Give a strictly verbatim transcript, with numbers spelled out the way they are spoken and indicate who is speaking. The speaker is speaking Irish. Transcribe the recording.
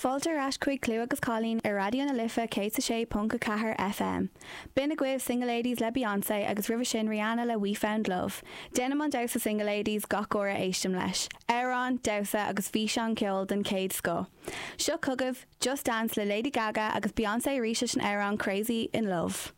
Speaker 1: Fáilte ar ais chuig Clú agus Cailín ar Raidió na Life céad sé ponc a ceathair FM. B'in agaibh Single Ladies le Beyoncé agus roimhe sin Rihanna le We Found Love. Déanaim an damhsa Single Ladies gach uair a éistim leis. Amhrán, damhsa agus físeán ceoil den chéad scoth. Seo chugaibh Just Dance le Lady Gaga agus Beyoncé arís an amhrán Crazy in Love.